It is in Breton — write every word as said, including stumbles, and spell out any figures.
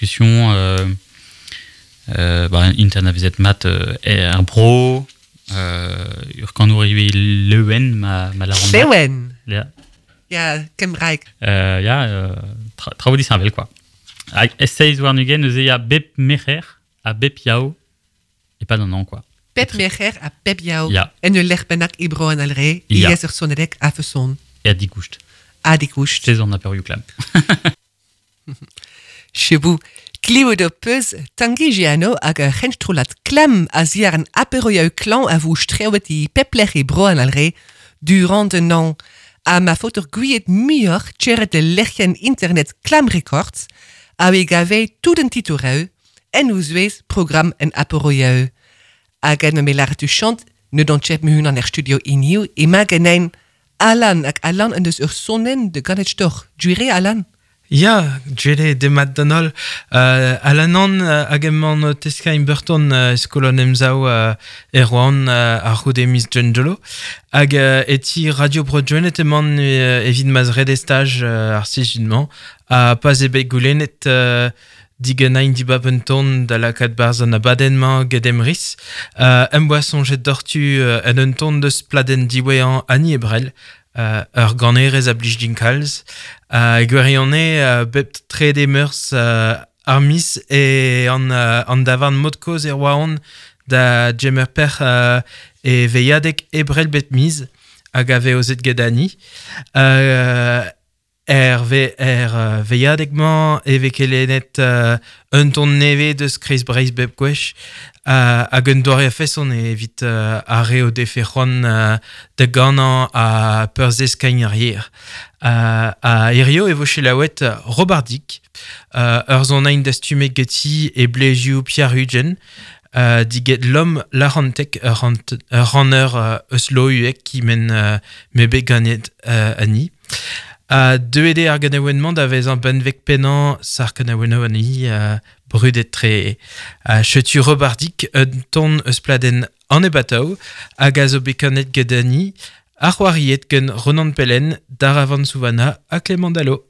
discussion euh, euh, ba, internavezet mat euh, er bro, euh, ur kanour ivez Lewen ma, ma la Lewen. Ya. Ya, Kembraeg. Euh, ya, euh, tra, traoù disheñvel, quoi. Hag seiz warn-ugent neuze ya bep merc'her ha bep yao, e pad an hañv, quoi. Pep merc'her ha pep yao. Ya. En ul lec'h bennak e bro an Alre, Ya. I ez ur sonerek a feson. E digoust. A digoust. Seiz an aperioù klam. Chebou, klivet ho peus Tangi Giano hag ur c'henstrollad klam a ziar an aperoioù klañv a vo strewet e pep lec'h e bro an Alre durant un an. Ha ma faot ur gouiet muioc'h tcheret e lec'hienn internet Klam Records a we gave tout an titoureu en ouzouez program en aperoioù. Hag en me lâret chant ne don chet me hun an er studio iniv e ma genein Alan hag Alan en deus ur sonnen de ganet stoch. Juire Alan? Ya, djere demat d'an holl. Uh, Alanan uh, hag emañ o teskañ Burton uh, skol an emsav uh, Erwan uh, ar c'houde miz Djendolo. Hag uh, eti Radio Bro-Gwened emañ uh, evit ma zrede staj uh, ar sizhun-mañ. Ha pas eo bet goulennet uh, digenain dibab un ton da lakaat barzh an abadenn-mañ get emriz. Uh, em boa soñjet doc'htu uh, en un ton deus pladenn diwezhañ Annie Ebrel, uh, ur ganerez a blij din kalz. Uh, gwirionez uh, bep trede meurzh uh, ar miz e an, uh, an davarn mod-kozh e Roazhon da Jemer Per uh, e veilhadeg Ebrel bet miz hag a vez ozet get Annie. Uh, er, ve, er uh, veilhadeg-mañ e vez kelennet uh, un ton nevez deus Kreiz Breizh bep gwech uh, hag un doare a-feson evit uh, ar re o defe c'hoant uh, da ganañ ha peurzeskañ ar yer. Uh, a hirio e vo selaouet Robardic, uh, ur zonain dastumet geti e blezioù Pierre Hudgen, uh, diget l'homme larantek ur rant- ur ranner uh, eus lohuek ki men uh, me bet ganet uh, ani. A deuet eo ar ganaouenn-mañ da vezañ benveg pennañ sar kanaouennoù ani uh, brudet tre. Uh, chetu Robardic un ton eus pladenn an ebatav hag a zo bet kanet get Annie, ar c'hoariet gant Ronan Pellen, Daravan Souvana ha Clément Dallot.